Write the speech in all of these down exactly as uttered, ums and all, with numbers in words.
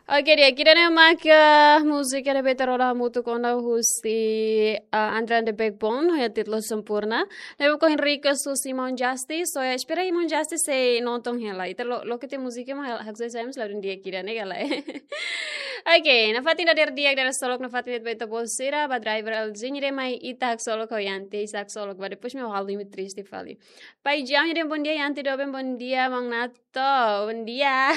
Oke, di'ak, ida-ne'e mak múzika ne'ebé ita rona hamutuk ona husi, ah, Andra and the Backbone, ho títulu Sempurna. Ne'ebé ohin request husi Maun Justice, so ya, espera Maun Justice sei nonton hela. Ita lo, loke tiha múzika mak hal-, haksoit sai mós ladún di'ak ida-ne'e ka lae. Oke, nafatin dadeer di'ak, dadeer solok nafatin de'it ba ita-boot sira, ba driver L G, nia dehan mai ita haksolok ho Yanti, ita haksolok ba, depois mak halo imi triste fali. Pai Jam, nia dehan bom dia, Yanti doben, bom dia, Maun Nat- To, bom dia.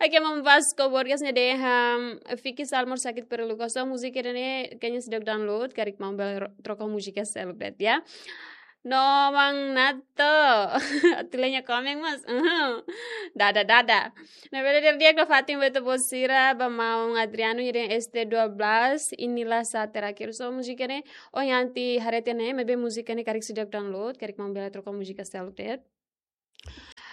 Oke, Maun Vasco Borges nia dehan, Vicky Salmor sakit perlu kosong, múzika ida-ne'e kayaknya seidauk download, karik Maun bele ro-, troka múzika seluk de'it ya. No, Maun Nato. Atu lee nia komen mós. Uhum. Dada, dada. Ne'ebé dadeer di'ak nafatin ba ita-boot sira, ba Maun Adriano nia dehan S T dua belas, inilah saat terakhir. So, múzika ne'e, oh, Yanti haree tiha ne'e, maibé múzika ne'e karik seidauk download, karik Maun bele troka múzika seluk de'it.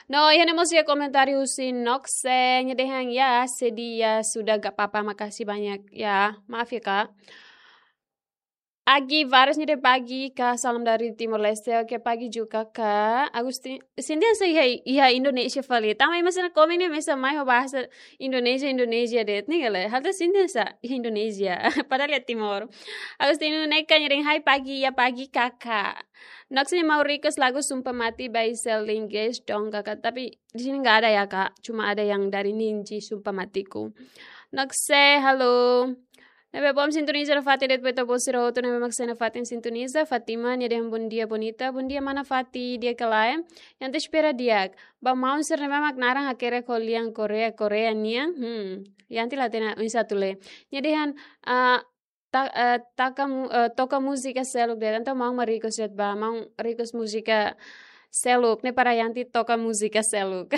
No, iha ne'e mós iha komentáriu husi Noxe, nia dehan ya, sedih ya, sudah gak apa-apa, makasih banyak ya, maaf ya, Kak. Agi Vares nia dehan pagi, Kak, salam dari Timor Leste, oke, pagi juga, Kak. Agustin, sente hanesan iha, iha Indonesia fali. Tanba ema sira komen ne'e hanesan mai ho bahasa Indonesia, Indonesia de'it ne'e ka lae. Halo sente hanesan iha Indonesia, padahal iha Timor. Agustin Neka nia dehan hai pagi, ya pagi, Kakak. Noxe nia mau request lagu Sumpah Mati by Selling Gates dong, Kakak. Tapi di sini nggak ada ya, Kak. Cuma ada yang dari Ninji, Sumpah Matiku. Noxe, halo. Ne'ebé bom sintoniza nafatin de'it ba ita-boot sira hotu ne'ebé mak sei nafatin sintoniza. Fatima nia dehan bom dia bonita. Bom dia mana Fati, di'ak ka lae? Yanti espera di'ak. Ba maun sira ne'ebé mak naran hakerek ho lian Korea, Korea nian. Hmm. Yanti la hatene oinsá atu lee. Nia dehan, ah, ta-, eh, taka mu-, eh, toka múzika seluk de'it. Entaun maun mak request de'it ba, maun request múzika seluk ne'e para Yanti toka múzika seluk.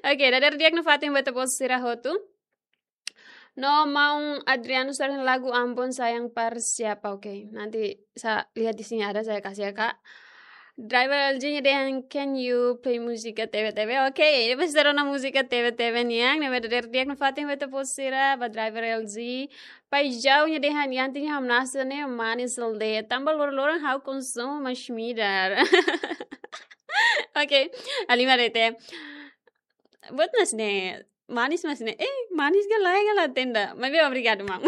Oke, dadeer di'ak nafatin ba ita-boot sira hotu. No, Maun Adriano sering lagu Ambon Sayang Par Siapa. Oke, nanti saya lihat di sini ada, saya kasih ya, Kak. Driver L G nia dehan, can you play múzika T V T V? Oke, ita sei rona múzika T V T V nian, ne'ebé dadeer di'ak nafatin ba ita-boot sira, ba driver L G. Pai Jau nia dehan, Yanti nia hamnasa ne'e manis de'it. Tanba loron-loron ha'u konsumu masin-midar. Oke, halimar de'it. Buat manis ne'e. Manis masin ne'e. Eh, manis ka lae ka la hatene. Maibé obrigadu, maun.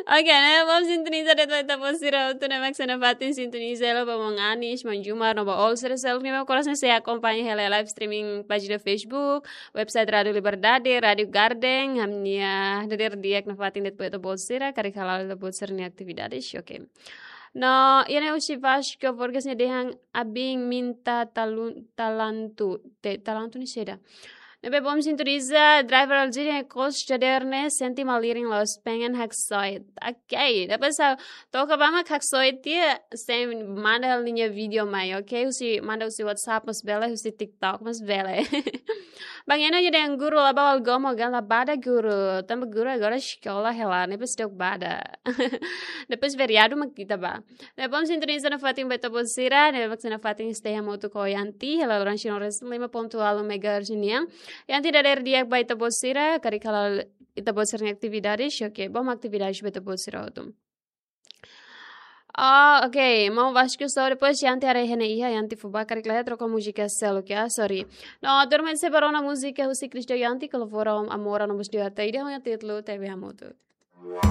Oke, ne'e bom sintoniza de'it ba ita-boot sira hotu ne'ebé mak sei nafatin sintoniza hela ba Maun Anis, Maun Jumar, no ba all sira seluk ne'ebé mak oras ne'e sei akompaña hela live streaming pájina Facebook, website Rádio Liberdade, Rádio Garden, ami-nia dadeer di'ak nafatin de'it ba ita-boot sira, karik hala'o ita-boot sira-nia atividades, oke. No, iha ne'e husi Vasco Borges nia dehan abin minta talun-, talantu, te, talantu ne'e saida. Ne'ebé bom sintoniza, driver L G nia kos dadeer ne'e sente malirin loos, pengen haksoit. Oke, depois ha'u toka ba mak haksoit tiha, sei manda ha'u nia vídeo mai, oke? Husi, manda husi WhatsApp mós bele, husi TikTok mós bele. Bang Eno nia dehan guru la ba Algoma ka, la bada guru. Tanba guru agora eskola hela, ne'ebé seidauk bada. Depois feriadu mak ita ba. Ne'ebé bom sintoniza nafatin ba ita-boot sira, ne'ebé mak sei nafatin esteja moto ko Yanti, hela loron sino res lima ponto ualu megahertz nian. Yanti dadeer di'ak ba ita-boot sira, karik hala'o ita-boot sira-nia atividades, oke, bom atividades ba ita-boot sira hotu. Ah, oke, Maun Vasco só depois Yanti haree iha ne'e iha, Yanti fó ba, karik lae troka múzika seluk ya, sorry. No, durante sei ba rona múzika husi Cristo Yanti, Kalafora Amora no Bus Diota, ida ho títulu T V Hamutuk.